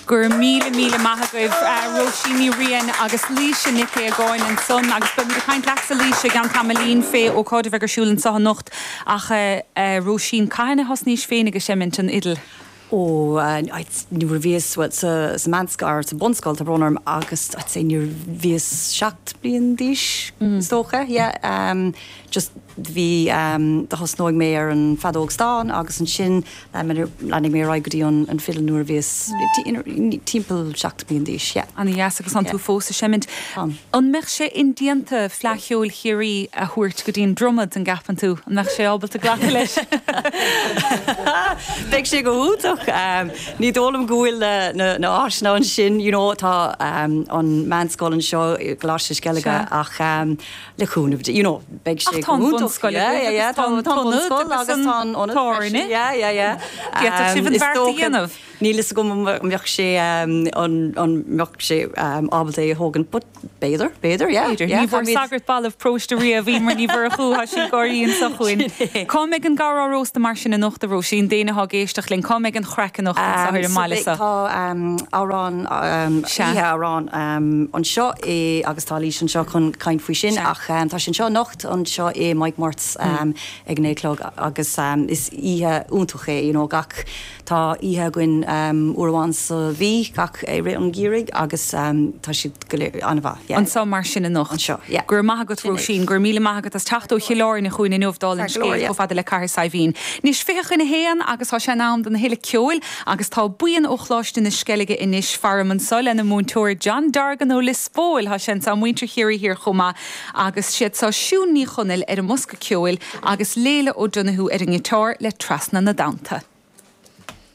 Go raibh míle míle maith agaibh, Róisín Ní Riain agus Laoise Nic Aogáin ansan agus beimid ag caint leatsa Laoise i gceann tamaillín fé ócáid a bheidh ar siúl anseo anocht ach Róisín, cathain a thosnaís féinig ag seimint an fhidil? Ó, nuair a bhíos, bhuel, sa meánscoil, or sa bunscoil, tá brón orm, agus I'd say nuair a bhíos 7 bliain d'aois, is dócha, yeah. Just bhí, do thosnóidh mé ar an feadóg stáin agus ansin leanfaidh mé ar aghaidh go dtí an fidil nuair a bhíos timpeall 7 bliain d'aois, yeah. Ana dheas agus tánn tú fós ag seimint. An mbeadh sé indéanta Fleadh Cheoil Chiarraí a thabhairt go dtí an Dromad, an gceapann tú? An mbeadh sé ábalta glacadh leis? Beidh sé go hiontach. Ní dóigh liom go bhfuil na háiseanna ansin, you know, tá an meánscoil anseo i gColáiste na Sceilge ach le cúnamh Dé, you know, beidh sé go hiontach. Ach tá an bhunscoil agaibh agus tá an t-ionad agus tá an ionad freisin. Yeah, yeah, yeah. D'fhéadfadh sibh an bheart a dhéanamh. Níl fhios agam an mbeadh sé an mbeadh sé ábalta é a thógaint but b'fhéidir, b'fhéidir, yeah. B'fhéidir. Ní bhfuair sagart balbh paróiste riamh, Emer Ní Mhurchú, tá sí ag gáirí anseo chugainn. Cá mbeidh an gabhar á róstadh mar sin anocht, a Róisín, d'éinne atá ag éisteacht linn, cá mbeidh an chraic anocht anseo ar an mbaile seo? Tá amhrán, oíche amhrán anseo i agus tá Laoise anseo chun caint faoi sin ach tá sé anseo anocht anseo i Mike Murt's ag a naoi a chlog agus is oíche iontach é, you know, gach Tá oíche againn uair amháin sa mhí gach i rith an gheimhridh agus tá siad go léir an-mhaith, yeah. Anseo mar sin anocht. Anseo, yeah. Go raibh maith agat Róisín, go raibh míle maith agat as teacht ó Chill Airne chugainn inniu dála an scéil chomh fada le Cathair Saidhbhín. Anois 20 chun a haon agus tá sé in am don thuilleadh ceoil agus tá buíon ó Choláiste na Sceilge anois faram anseo lena múinteoir John Dorgan ó Lios Póil, tá sé anseo, muintir Chiarraí Thiar chomh maith agus siad seo Siún Ní Chonaill ar an mbosca ceoil agus Léila O'Donoghue ar an ngiotár le Trasna na dTonnta.